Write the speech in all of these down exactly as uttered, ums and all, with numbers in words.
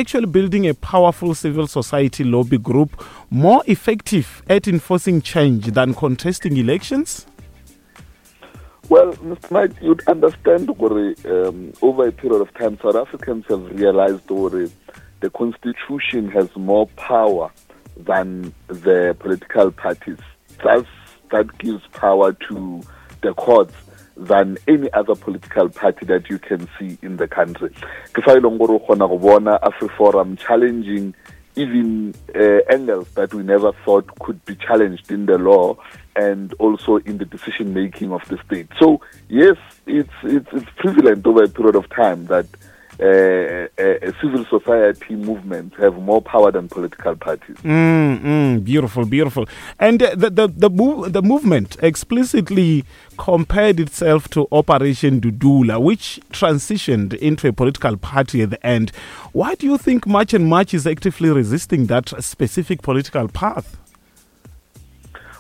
Actually building a powerful civil society lobby group more effective at enforcing change than contesting elections? Well, Mister Knight, you'd understand gore, um, over a period of time, South Africans have realized gore the constitution has more power than the political parties. Thus, that gives power to the courts than any other political party that you can see in the country. Ke fa e leng gore o kgona go bona AfriForum challenging even, uh, angles that we never thought could be challenged in the law and also in the decision making of the state. So yes, it's, it's, it's prevalent over a period of time that, uh, uh, civil society movements have more power than political parties. Mm, mm, beautiful, beautiful. And, uh, the, the, the, move, the movement explicitly compared itself to Operation Dudula, which transitioned into a political party at the end. Why do you think March and March is actively resisting that specific political path?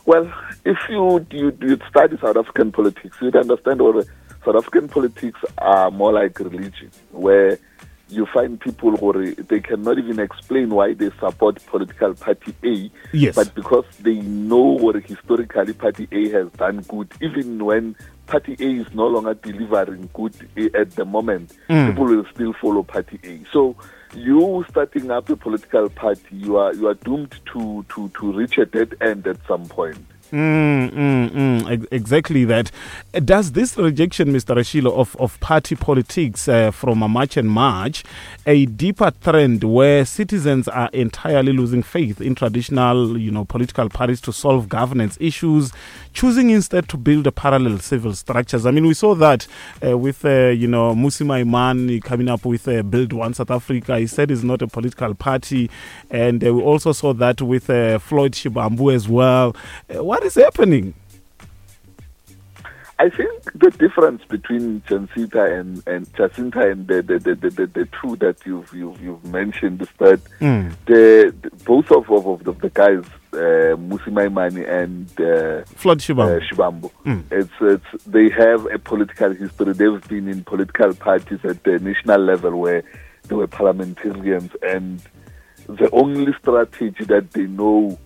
Well, if you, you, you study South African politics, you'd understand what South African politics are more like religion, where you find people who they cannot even explain why they support political party A, Yes. but because they know what historically party A has done good, even when party A is no longer delivering good at the moment, Mm. people will still follow party A. So you starting up a political party, you are, you are doomed to, to, to reach a dead end at some point. Mm, mm, mm, ex-, exactly that. Does this rejection, Mister Ratshilo, of, of party politics, uh, from a March and March, a deeper trend where citizens are entirely losing faith in traditional, you know, political parties to solve governance issues, choosing instead to build a parallel civil structures? I mean, we saw that, uh, with, uh, you know, Mmusi Maimane coming up with, uh, Build One South Africa. He said it's not a political party. And, uh, we also saw that with, uh, Floyd Shivambu as well. Uh, what is happening? I think the difference between Jacinta and, and Jacinta and the, the, the, the, the, the two that you've, you've, you've mentioned is that Mm. the, the both of, of, of the, the guys, uh, Mmusi Maimane and, uh, Floyd Shivambu, uh, Shivambu, Mm. it's, it's, they have a political history. They've been in political parties at the national level where they were parliamentarians, and the only strategy that they know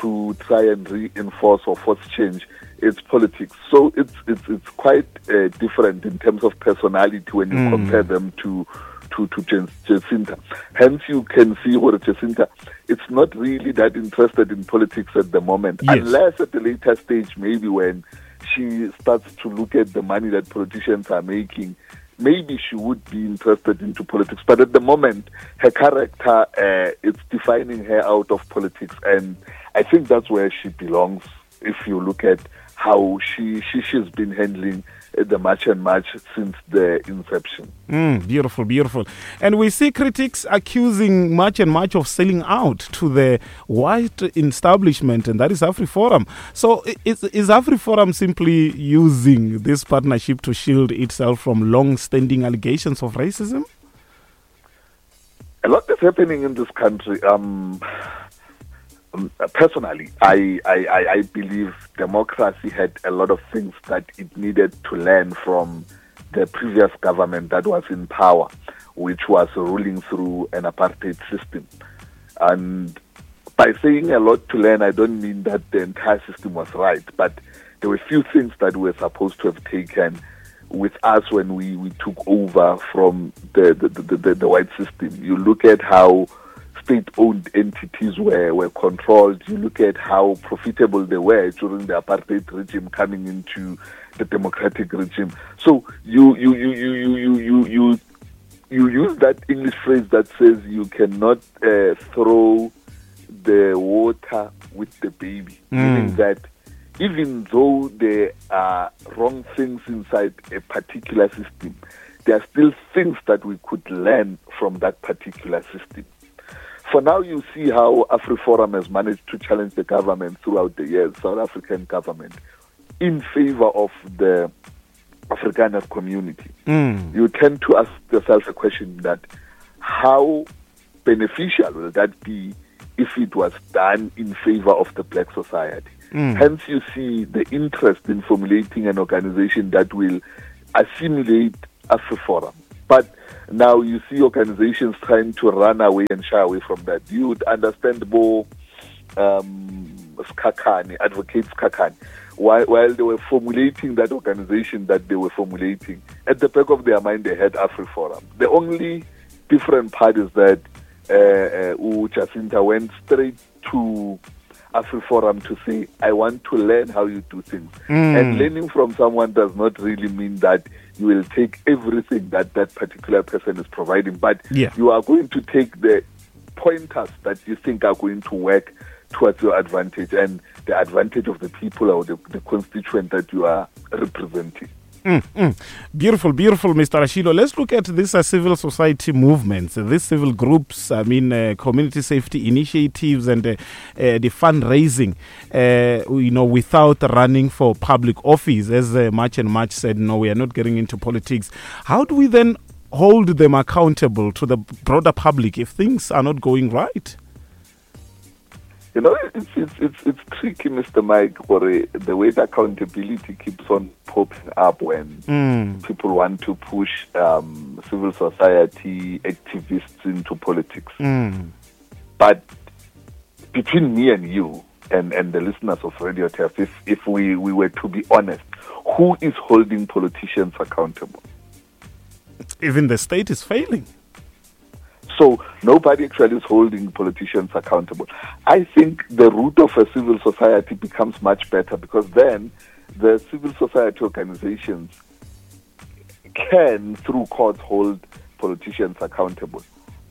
to try and reinforce or force change is politics. So it's, it's, it's quite, uh, different in terms of personality when you Mm. compare them to, to, to Jan-, Jacinta. Hence, you can see what Jacinta, it's not really that interested in politics at the moment, Yes. unless at a later stage, maybe when she starts to look at the money that politicians are making, maybe she would be interested into politics. But at the moment, her character, uh, it's defining her out of politics, and I think that's where she belongs if you look at how she, she, she's been handling the March and March since the inception. Mm, beautiful, beautiful. And we see critics accusing March and March of selling out to the white establishment, and that is AfriForum. So i-, is, is AfriForum simply using this partnership to shield itself from long-standing allegations of racism? A lot is happening in this country. Um, um, personally, I, I, I, I believe democracy had a lot of things that it needed to learn from the previous government that was in power, which was ruling through an apartheid system. And by saying a lot to learn, I don't mean that the entire system was right, but there were few things that we were supposed to have taken with us when we, we took over from the, the, the, the, the white system. You look at how state-owned entities were, were controlled. You look at how profitable they were during the apartheid regime coming into the democratic regime. So you, you, you, you, you, you, you, you, you use that English phrase that says you cannot, uh, throw the water with the baby, Mm. meaning that even though there are wrong things inside a particular system, there are still things that we could learn from that particular system. For now, you see how AfriForum has managed to challenge the government throughout the years, South African government, in favor of the Afrikaner community. Mm. You tend to ask yourself a question that how beneficial will that be if it was done in favor of the black society? Mm. Hence, you see the interest in formulating an organization that will assimilate AfriForum. But now you see organizations trying to run away and shy away from that. You would understand more um, Sikhakhane, Advocate Sikhakhane, while, while they were formulating that organization that they were formulating, at the back of their mind they had AfriForum. The only different part is that uh, uh, Jacinta went straight to AfriForum to say, I want to learn how you do things. Mm. And learning from someone does not really mean that you will take everything that that particular person is providing, but yeah. you are going to take the pointers that you think are going to work towards your advantage and the advantage of the people or the, the constituent that you are representing. Mm, mm. Beautiful, beautiful, Mister Ratshilo. Let's look at these uh, civil society movements, uh, these civil groups, I mean, uh, community safety initiatives and uh, uh, the fundraising, uh, you know, without running for public office. As uh, March and March said, no, we are not getting into politics. How do we then hold them accountable to the broader public if things are not going right? You know, it's it's it's, it's tricky, Mister Mike, for the way the accountability keeps on popping up when mm. people want to push um, civil society activists into politics. Mm. But between me and you and, and the listeners of Radio Turf, if, if we, we were to be honest, who is holding politicians accountable? Even the state is failing. So nobody actually is holding politicians accountable. I think the root of a civil society becomes much better because then the civil society organizations can, through courts, hold politicians accountable.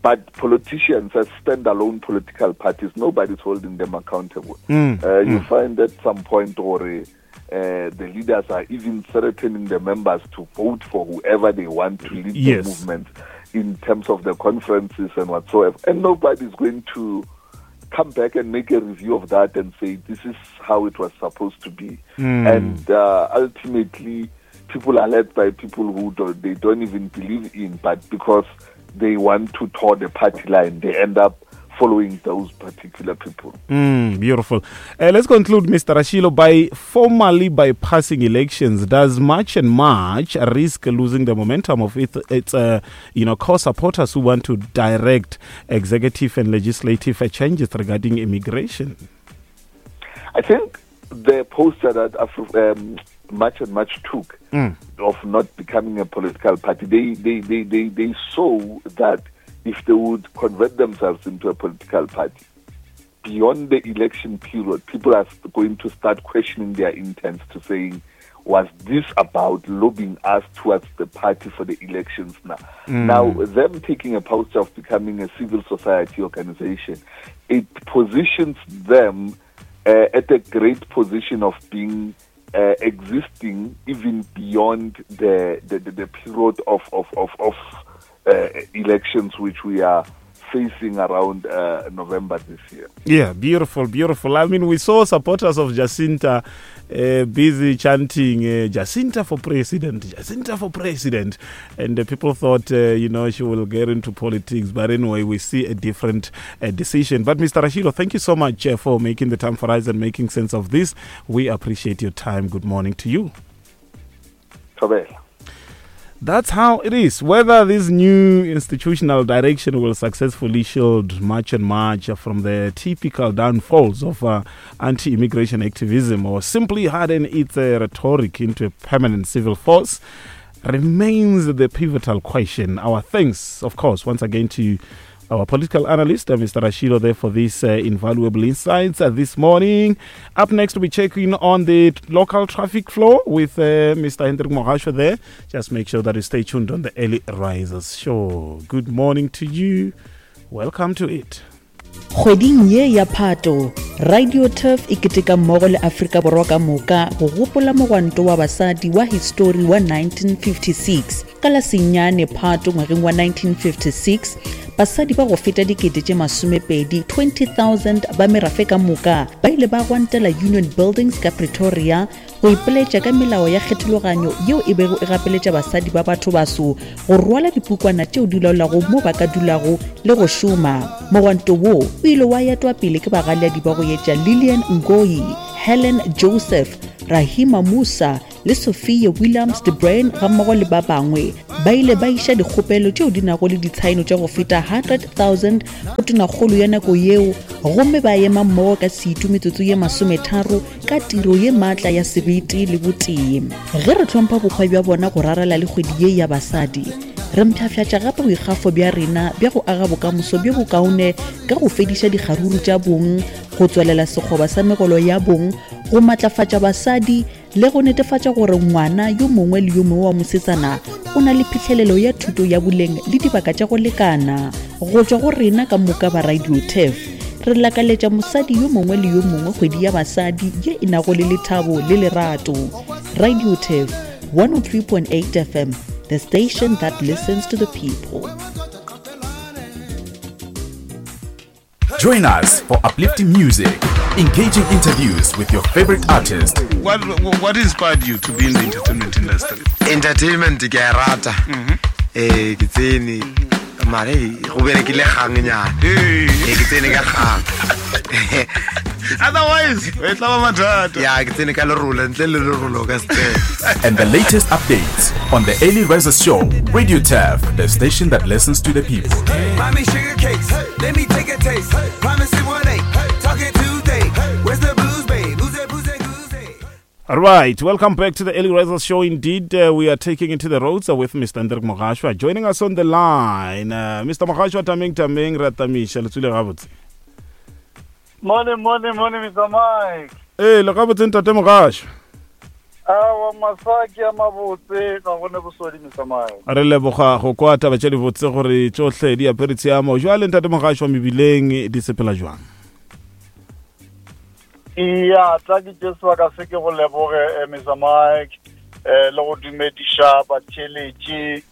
But politicians as standalone political parties, nobody's holding them accountable. Mm, uh, you mm. find at some point or uh, the leaders are even threatening the members to vote for whoever they want to lead yes. the movement in terms of the conferences and whatsoever. And nobody's going to come back and make a review of that and say this is how it was supposed to be. Mm. And uh, ultimately, people are led by people who don't, they don't even believe in, but because they want to toe the party line, they end up following those particular people. Mm, beautiful. Uh, let's conclude, Mister Ratshilo, by formally bypassing elections. Does March and March risk losing the momentum of its, its uh, you know, core supporters who want to direct executive and legislative changes regarding immigration? I think the posture that Afro, um, March and March took mm. of not becoming a political party, they, they, they, they, they saw that if they would convert themselves into a political party, beyond the election period, people are going to start questioning their intents to saying, was this about lobbying us towards the party for the elections now? Mm. Now, them taking a posture of becoming a civil society organization, it positions them uh, at a great position of being uh, existing even beyond the, the, the, the period of, of, of, of Uh, elections which we are facing around uh, November this year. Yeah, beautiful, beautiful. I mean, we saw supporters of Jacinta uh, busy chanting, uh, Jacinta for president, Jacinta for president. And the people thought, uh, you know, she will get into politics. But anyway, we see a different uh, decision. But Mister Ratshilo, thank you so much uh, for making the time for us and making sense of this. We appreciate your time. Good morning to you. Thobela. That's how it is. Whether this new institutional direction will successfully shield March and March from the typical downfalls of uh, anti-immigration activism or simply harden its uh, rhetoric into a permanent civil force remains the pivotal question. Our thanks, of course, once again to our political analyst, uh, Mister Ratshilo, there for these uh, invaluable insights uh, this morning. Up next, we'll be checking on the local traffic flow with uh, Mister Hendrik Mogasho there. Just make sure that you stay tuned on the Early Risers Show. Good morning to you. Welcome to it. Kgweding ye ya Phato, Radio Turf e keteka mmogo le Afrika Borwa ka moka go gopola mogwanto wa basadi wa histori wa nineteen fifty-six. Ka la senyane Phato ngwageng wa nineteen fifty-six, basadi ba go feta dikete tše masomepedi twenty thousand ba merafe ka moka ba ile ba gwantela Union Buildings ka Pretoria go ipeletša ka melao ya kgethologanyo yeo e bego e gapeletša basadi ba batho baso go rwala dipukwana tšeo di laolago mo ba ka dulago le go šoma. Mogwanto wo o ile wa etwa pele ke bagaleadi ba go etša Lillian Ngoyi, Helen Joseph, Rahima Musa le Sophia Williams de Bruyn gammogo le ba bangwe ba ile ba iša dikgopelo tšeo di nago le ditshaeno tša go feta hundred thousand go tonakgolo ya nako yeo, gomme ba ema mmogo ka setu metsotso ye masometharo ka tiro ye maatla ya sebete le botee. Ge re hlompha bokgwa bja bona go rarela le kgwedi ye ya basadi, re mpshafšatša gape boikgafo bja rena bja go aga bokamoso bjo bokaone ka go fediša dikgaruru tša bong, go tswelela sekgoba sa megolo ya bong, go matlafatša basadi le go netefatša gore ngwana yo mongwe le yo mongwe wa mosetsana o na le phihlelelo ya thuto ya boleng le dibaka tša go lekana. Go tšwa go rena ka moka ba Radio Turf, re lakaletša mosadi yo mongwe le yo mongwe kgwedi ya basadi ye e nago le lethabo le lerato. Radio Turf one oh three point eight F M, the station that listens to the people. Join us for uplifting music, engaging interviews with your favorite artist. What, what inspired you to be in the entertainment industry? Entertainment ke a rata. Eh, ke tsene mare go berekile kgang nyana. Eh, ke tsene ka kgang. Otherwise, e tla ba mathata. Ya, ke tsene ka lerolo, ntle le lerolo ka se. And the latest updates on the Early Risers Show, Radio Turf, the station that listens to the people. Mommy sugar cakes, let me take a taste. Promise it one eight, talking Tuesday. Where's the booze, babe? Booze, booze, booze. All right, welcome back to the Early Risers Show. Indeed, uh, we are taking it to the roads uh, with Mister Hendrik Mogashoa. Joining us on the line, uh, Mister Mogashoa, tameng tameng ratamisha letsule gabotse. Morning, morning, morning, Mister Mike. Eh, le gabotse ntate Mogashoa. Awa masaki a mabotse ga gone bosodi, Mister Mike. Re leboga go kwa taba tše di botse gore tšohle di apere tshiamo. Jwale ntate Mogashoa mebileng di sepela jwang? Iya, tla ke tše sebaka se ke go leboge, Mister Mike, eh le go dumediša batheeletši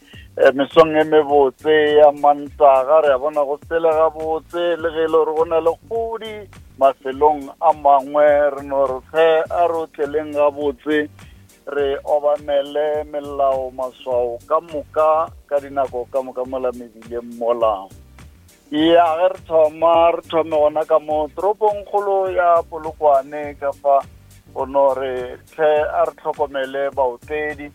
mesong e mebotse ya Mantaga. Re a bona go sele gabotse le ge e le gore go na le kgodi mafelong a mangwe, re no re tlhe a re otleleng gabotse, re obamele melao maswao ka moka ka dinako ka moka mola mebileng mola. Ya, ge re thoma re thome gona ka mo toropongkgolo ya Polokwane ka fa go no re tlhe a re tlhokomele baotledi.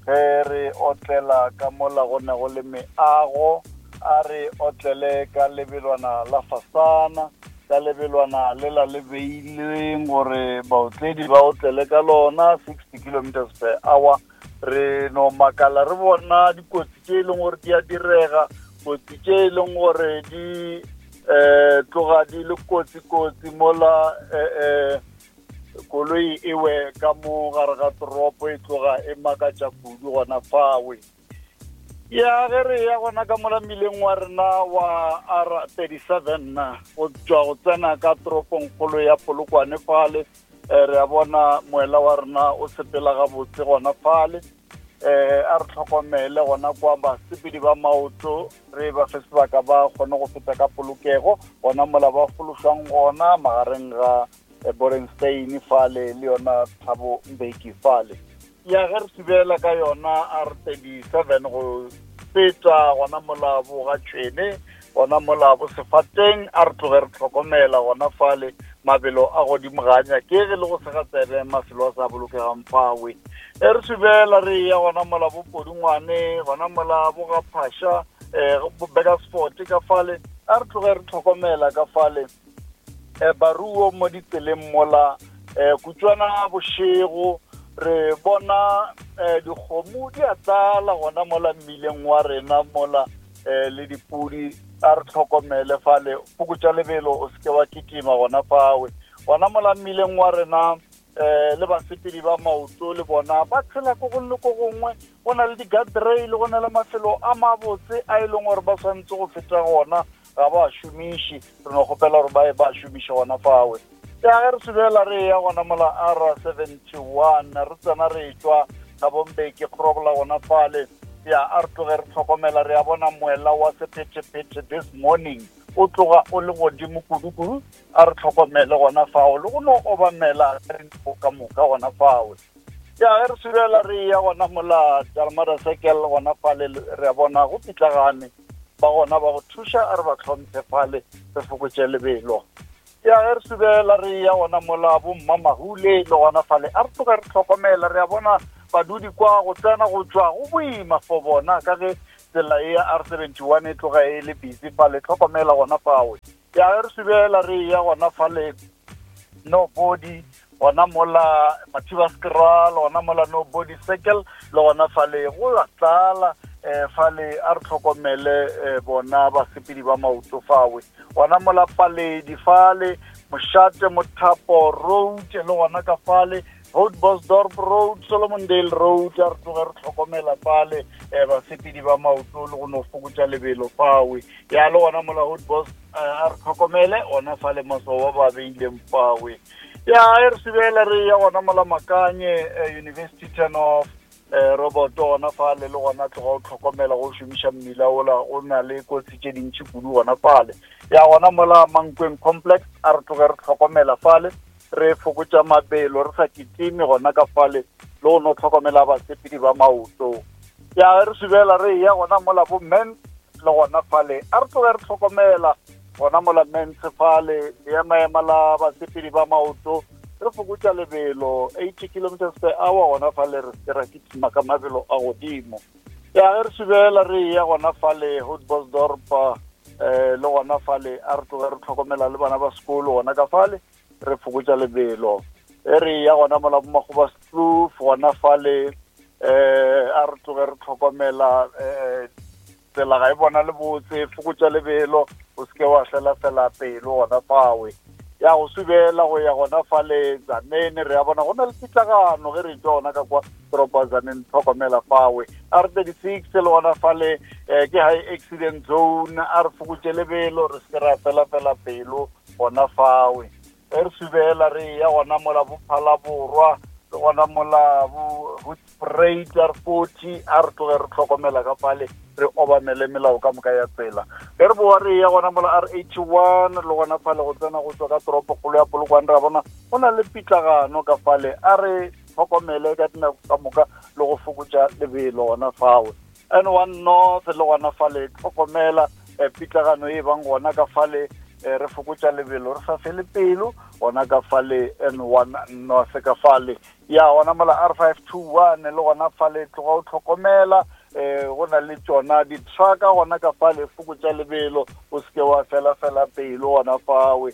Ge re otlela ka mola go ne go le meago, a re otlele ka lebelwana la fasana, ka lebelwana le la le beilweng gore baotledi ba otlele ka lona sixty kilometers per hour. Re no makala re bona dikotsi tše e leng gore di a direga, kotsi tše e leng gore di um tloga di le kotsi-kotsi mola um koloi e we ka mo gare ga toropo e tloga e makatša kudu gona fawe. Ya, ge re ya gona ka mola mmileng wa rena wa R thirty-seven go tšwa go tsena ka toropongkgolo ya Polokwane fale, re a bona moela wa rena o sepela gabotse gona fale. Eh, a re tlhokomele gona kwa basepedi ba maoto, re ba fe sebaka ba kgone go feta ka polokego gona mola ba fološwang gona magareng ga Borenstein fale le yona Thabo Mbeki fale. Ya, ge re subela ka yona R thirty-seven go feta gona mola bo ga Tšhwene, gona mola bo Sefateng, a re tloge re tlhokomela gona fale mabelo a godimo ga nyakege le go sega tsebe mafelo a sa bolokegang fawe. E re subela re ya gona mola bo Podungwane, gona mola bo ga Phasha, um Burgersfort ka fale, a re tloge re tlhokomela ka fale. Eh, baruo mo ditseleng mola, eh, kutswana bošego re bona eh, dikgomo di a tlala gona mola mmileng wa rena mola, eh, le dipudi, a re tlhokomele fale, fokotša lebelo o seke wa kitima gona fawe. Gona mola mmileng wa rena eh, le basepedi ba maoto le bona ba tshela ko gongwe le ko gongwe, go na le di-guardrail, go na le mafelo a mabotse a e leng gore ba swanetse go feta gona, ga ba šomiše, re no kgopela gore ba e ba šomiše gona fawe. Ya, ge re subela re ya gona mola R seventy-one re tsena re tšwa Thabo Mbeki kgorobola gona fale. Ya, a re tloge re tlhokomela, re a bona moela wa sephethephethe this morning o tloga o le godimo kudu-kudu, a re tlhokomele gona fao le go no obamela ka moka gona fawe. Ya, ge re subela re ya gona mola Dalmada Circle gona fale, re a bona go pitlagane ba gona ba go thuša, a re ba tlhomphe fale, re fokotše lebelo. Ya, ge re subela re ya gona mola bo Mmamahule le gona fale, a re tloga re tlhokomela, re a bona Badudi kwa go tsena go tšwa go boima for bona ka ge tsela e ya R seventy-one e tloga e le busy fale, tlhokomela gona fawe. Ya re subela re ya gona fale Nobody, gona mola Mathibaskral, gona mola Nobody Circle, le gona fale go a tlala eh fale a re tlhokomele eh, bona basepedi ba maoto fawe. Gona mola Paledi fale, Moshate Mothapo Road, le gona ka fale Houtbosdorp Road, Solomondale Road, a re tloge re tlhokomela fale eh basepedi ba maoto le go no fokotša lebelo fawe. Ya le gona mola Houtbos a re tlhokomele gona fale maswao ba ba beileng fawe. Ya e re sebela re ya gona mola Makanye eh, University turn off eh Robert gona fale le gona tloga o tlhokomela go šomiša mmila ola o na le kotsi tše dintši kudu gona fale. Ya gona mola Mankweng Complex a re tloge re tlhokomela fale, re fokotša mabelo re sa kitime gona ka fale le go no tlhokomela basepedi ba maoto. Ya re subela re ya gona mola bo men le gona fale a re tloge re tlhokomela gona mola Mens fale le ema la basepedi ba maoto re fokotša lebelo eighty kilometers per hour gona fale re se ra kitima ka mabelo a godimo. Ya re subela re ya gona fale Houtbosdorp eh le gona fale a re tloge re tlhokomela le bana ba sekolo gona ka fale re fokotša lebelo. E re ya gona mola Makgobaskloof gona fale eh a re tloge re tlhokomela eh tsela ga e bona le botse, fokotša lebelo o seke wa fela fela pelo gona fawe. Ya go subela go ya gona fale Tzaneen re ya bona go na le pitlagano ge re tšwa gona ka kwa toropo ya Tzaneen, tlhokomela fawe. R thirty-six le gona fale eh, ke high accident zone, a re fokotše lebelo re seke ra fela fela pelo gona fawe. E re subela re ya gona mola Bophalaborwa le gona mola bo Hoedspruit R forty a re tloge re tlhokomela ka fale re obamele melao ka moka ya tsela. Ge re boa re ya gona mola R eighty-one le gona fale go tsena go tswa ka toropokgolo ya Polokwane re bona go na le pitlagano ka fale, a re tlhokomele ka dinako ka moka le go fokotša lebelo gona fawe. N one North le gona fale tlhokomela eh, pitlagano e bang gona ka fale eh, re fokotša lebelo re sa fele pelo gona ka fale N one North ka fale. Ya gona mola R five two one le gona fale tloga o tlhokomela eh go na le tšona di-trucka gona ka fale fokotša lebelo o seke wa fela fela pelo gona fawe.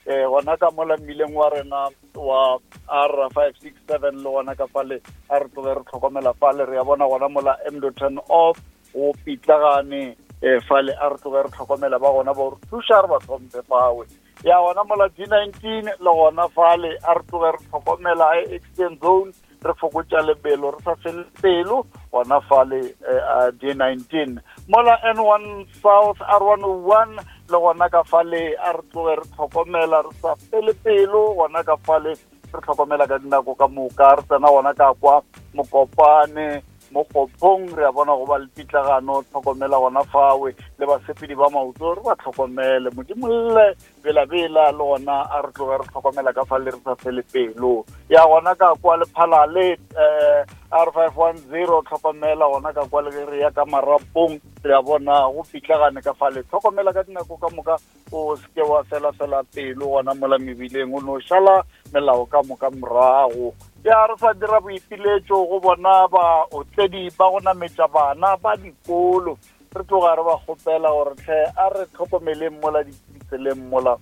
Eh gona ka mola mmileng wa rena wa R five six seven le gona ka fale a re tloge re tlhokomela fale re ya bona gona mola M turn off o pitlagane eh fale a re tloge re tlhokomela ba gona ba re thuša re ba tlhomphe fawe. Ya gona mola D nineteen le gona fale a re tloge re tlhokomela high accident zone re fokotša lebelo re sa fele pelo gona fale eh, D nineteen. Mola N one South R one oh one le gona ka fale a re tloge re tlhokomela re sa fele pelo gona ka fale re tlhokomela ka dinako ka moka re tsena gona ka kwa Mokopane Mokgopong re a bona go ba le pitlagano, tlhokomela gona fawe le basepedi ba maoto re ba tlhokomele. Modimolle bela-bela le gona a re tloge re tlhokomela ka fale re sa fele pelo. Ya gona ka kwa Lephalale eh R five one zero tlhokomela gona ka kwa le ge re ya ka Marapong re a bona go pitlagane ka fale, tlhokomela ka dinako ka moka o seke wa fela fela pelo gona mola mebileng o no šala melao ka moka morago. Ya re sa dira boipiletšo go bona baotledi ba go nametša bana ba dikolo, re tloga re ba kgopela gore tlhe a re tlhokomeleng mola ditseleng mola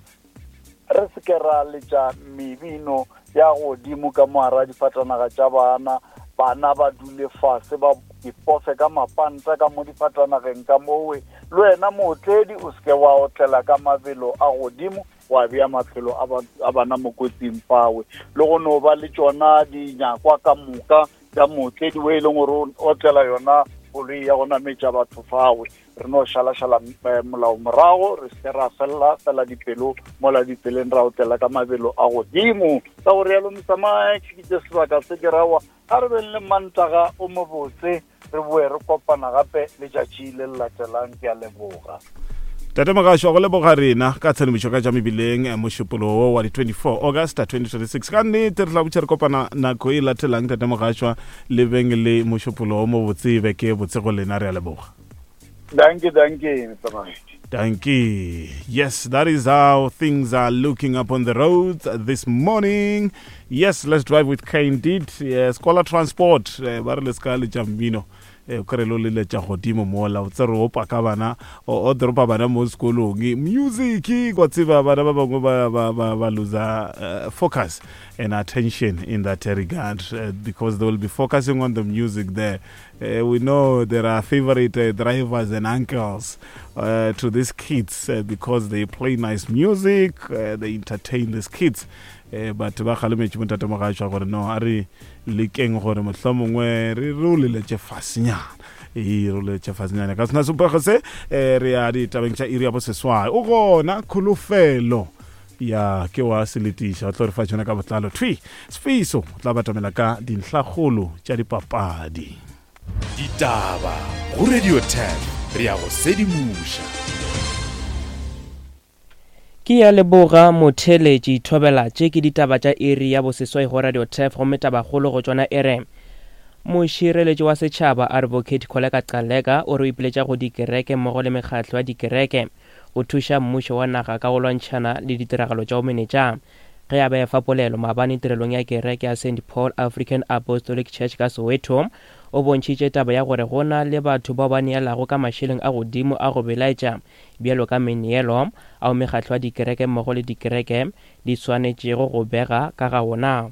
re seke ra letša mebino ya godimo ka moara difatanaga tša bana, bana ba dule fase ba ipofe ka mapanta ka mo difatanageng ka mowe. Le wena mootledi o seke wa otlela ka mabelo a godimo wa bea maphelo a bana mo kotsing fawe. Le go no ba le tšona dinyakwa ka moka tša mootledi o e leng gore o otlela yona koloi ya go nametša batho fawe. Re no šalašala molao morago re se ra fela fela dipelo mola ditseleng ra otlela ka mabelo a godimo. Ka go rialo Mister Mike ke tše sebaka se ke rawa a re beng le Mantaga o mobotse re boe re kopana gape letšatši le le latelang. Ke a leboga. Tate Mogasho, go leboga rena ka tshedimošo ka tša mebileng mošupologo wa di twenty-four August twenty twenty-six. Ka nnete re tla botša re kopana nako e latelang. Tate Mogasho, le beng le mošupologo mo botse beke botse go lena, re a leboga. Danke, danke, Mister Mike. Dankie. Yes, that is how things are looking up on the roads this morning. Yes, let's drive with Candid. Yes, Scholar Transport. Ba re le ska le tša mmino. O kry lo leletša godimo mola o tsere o paka bana o dropa bana mo sekolong music kwa tseba bana ba bangwe ba ba ba ba lose uh, focus and attention in that regard uh, because they will be focusing on the music there. Uh, we know there are favorite uh, drivers and uncles uh, to these kids uh, because they play nice music, uh, they entertain these kids. Uh, but ba kgalemetše montate mogatšwa gore no a re lekeng gore mohlomongwe re re o leletše fasenyana e re o leletše fasenyana ka sena sepego se re ya ditabeng tša iri ya boseswai o gona kholofelo ya ke wa seletiša o tlo re fa tšona ka botlalo thwi Sfiso o tla batamela ka dintlhakgolo tša dipapadi. Ditaba go Radio ten re ya go sedimoša. Ke ya leboga motheletši thobela tše ke ditaba tša iri ya boseswai go Radio Turf gomme tabakgolo go tšona e re mošireletši wa setšhaba Advocate Kholeka Gcaleka o re o ipiletša go dikereke mmogo le mekgatlo ya dikereke go thuša mmušo wa naga ka go lwantšhana le ditiragalo tša bomenetša. Ge a be fa polelo maabane tirelong ya kereke ya Saint Paul African Apostolic Church ka Soweto, o bontšhitše taba ya gore go na le batho bao ba neelago ka mašeleng a godimo a go belaetša bjalo ka meneelo ao mekgatlo ya dikereke mmogo le dikereke di swanetšego go bega ka ga ona.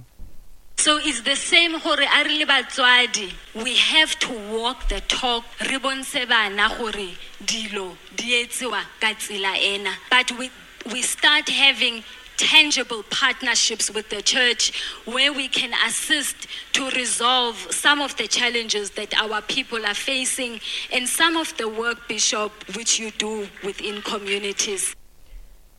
So it's the same gore a re le batswadi, we have to walk the talk, re bontshe bana gore dilo di etsewa ka tsela ena. But we, we start having tangible partnerships with the church where we can assist to resolve some of the challenges that our people are facing and some of the work, Bishop, which you do within communities.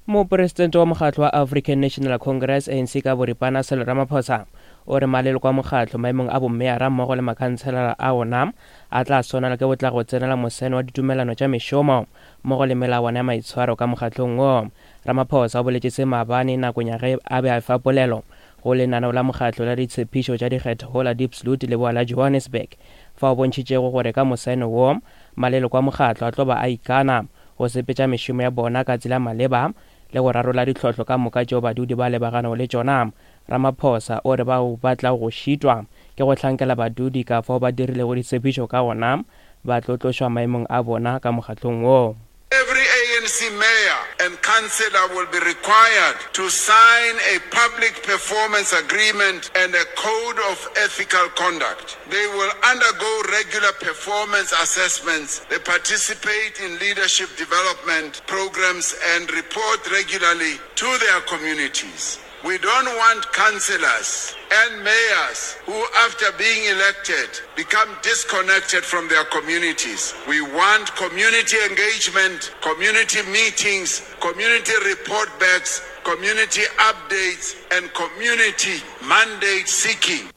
Mopresidente wa mokgatlo wa African National Congress A N C ka boripana Cyril Ramaphosa o re maleloko a mokgatlo maemong a bommeara mmogo le makhanselara a ona a tla swanela ke go tla go tsenela moseno wa ditumelano tša mešomo mmogo le melawana ya maitshwaro ka mokgatlong wo. Ramaphosa o boletše se maabane nakong ya ge a be a fa polelo go lenaneo la mokgatlo la ditshepišo tša dikgetho go la Diepsloot leboa la Johannesburg, fa o bontšhitšego gore ka moseno wo maleloko a mokgatlo a tlo ba a ikana go sepetša mešomo ya bona ka tsela maleba le go rarolla ditlhohlo ka moka tšeo badudi ba lebaganego le tšona. Ramaphosa o re bao ba tla go šitwa ke go hlankela badudi ka fao ba dirilego ditshepišo ka gona ba tlo tlošwa maemong a bona ka mokgatlong wo. Every A N C mayor and councillor will be required to sign a public performance agreement and a code of ethical conduct. They will undergo regular performance assessments. They participate in leadership development programs and report regularly to their communities. We don't want councillors and mayors who, after being elected, become disconnected from their communities. We want community engagement, community meetings, community report backs, community updates, and community mandate seeking.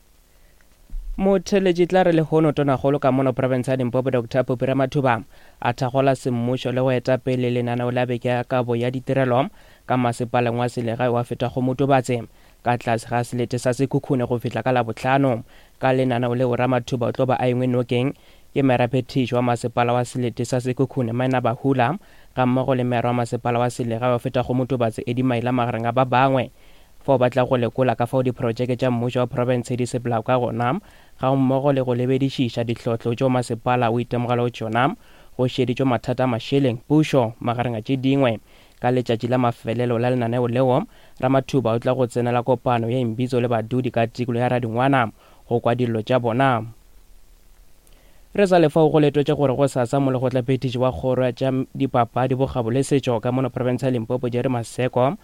Motheletši tla re lehono tonakgolo ka mono province ya Limpopo Doctor Phophi Ramathuba a thakgola semmušo le go eta pele lenaneo la beke ya kabo ya ditirelo ka masepaleng wa selegae wa feta go Motobatse ka tlase ga selete sa Sekhukhune go fihla ka Labohlano. Ka lenaneo leo Ramathuba o tlo ba a engwe nokeng ke meraphethiši wa masepala wa selete sa Sekhukhune Maina Bahula ga mmogo le mera wa masepala wa selegae wa feta go Motobatse Eddie Maila magareng a ba bangwe. Fao ba tla go lekola ka fao diprojeke tša mmušo wa province di sepelago ka gona ga mmogo le go lebedišiša ditlhohlo tšeo masepala o itemogelago tšona go šeditšwe mathata a mašeleng pušo magareng a tše dingwe. Ka letšatši la mafelelo la lenaneo leo Ramathuba o tla go tsenela kopano ya imbitso le badudi ka tikolo ya Radingwana go kwa dillo tša bona. Re sa lefao go letwetše gore go sasa molekgotlaphethiši wa kgoro ya tša dipapadi bokgabo le setšo ka mono province ya Limpopo Jerry Maseko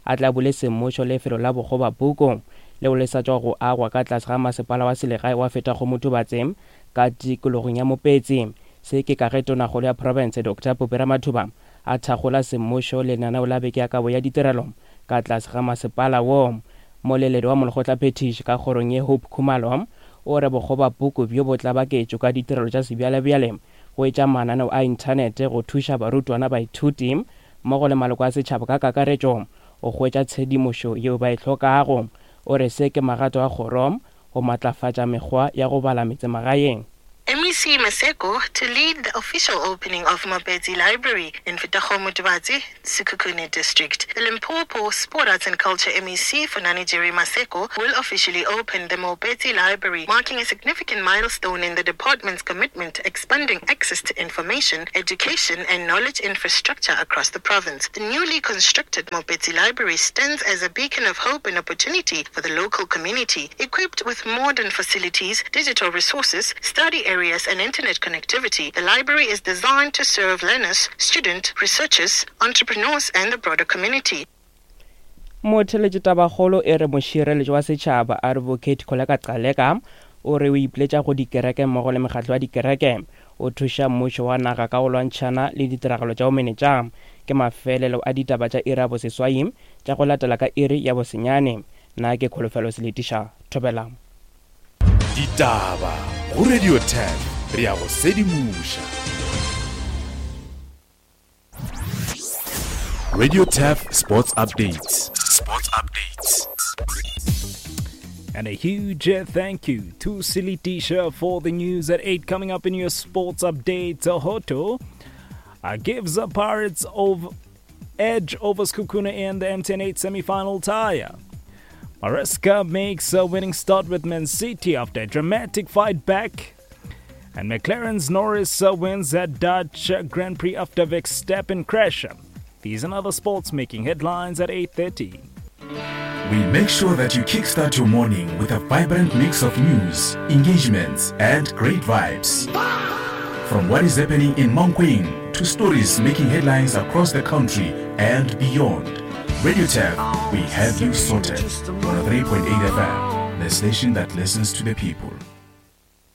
a tla bule semmušo lefelo la bokgobapuku leo le sa tšwa go agwa ka tlase ga masepala wa selegae wa feta go Motubatse ka tikologong ya Mopetsi. Se ke ka ge tonakgolo ya province Doctor Phophi Ramathuba a thakgola semmušo lenaneo la beke ya kabo ya ditirelo ka tlase ga masepala wo. Moleledi wa molekgotlaphethiši ka kgorong ye Hope Khumalo o re bokgobapuku bjo bo tla baketšo ka ditirelo tša sebjalebjale go etša mananeo a inthanete go thuša barutwana baithuti mmogo le maloko a setšhaba ka kakaretšo go hwetša tshedimošo yeo ba e hlokago. O re se ke magato a kgoro go matlafatša mekgwa ya go bala metsemagaeng. M M E C Maseko to lead the official opening of Mopetsi Library in Fetakgomo Tubatse, Sekhukhune District. The Limpopo Sport, Arts and Culture M E C Funani Jerry Maseko will officially open the Mopetsi Library, marking a significant milestone in the department's commitment to expanding access to information, education and knowledge infrastructure across the province. The newly constructed Mopetsi Library stands as a beacon of hope and opportunity for the local community. Equipped with modern facilities, digital resources, study areas and internet connectivity, the library is designed to serve learners, students, researchers, entrepreneurs and the broader community. Motheletši tabakgolo e re mošireletši wa setšhaba Advocate Kholeka Gcaleka o re o ipiletša go dikereke mmogo le mekgatlo ya dikereke o thuša mmušo wa naga ka go lwantšhana le ditiragalo tša bomenetša. Ke mafelelo a ditaba tša iri ya boseswai tša go latela ka iri ya bosenyane. Nna ke Kholofelo Seletiša, Thobela. Ditaba go Radio ten, re ya go sedimoša. Radio T E F Sports Updates. Sports Updates. And a huge thank you to Silitisha for the news at eight. Coming up in your sports update, Hoto uh, gives the Pirates over edge over Sekhukhune in the M T N eight semi-final tie. Maresca makes a winning start with Man City after a dramatic fight back. And McLaren's Norris wins at Dutch Grand Prix after Verstappen crash. These and other sports making headlines at eight thirty. We make sure that you kickstart your morning with a vibrant mix of news, engagements, and great vibes. From what is happening in Mankweng to stories making headlines across the country and beyond. Radio T E F, we have you sorted. one oh three point eight F M, the station that listens to the people.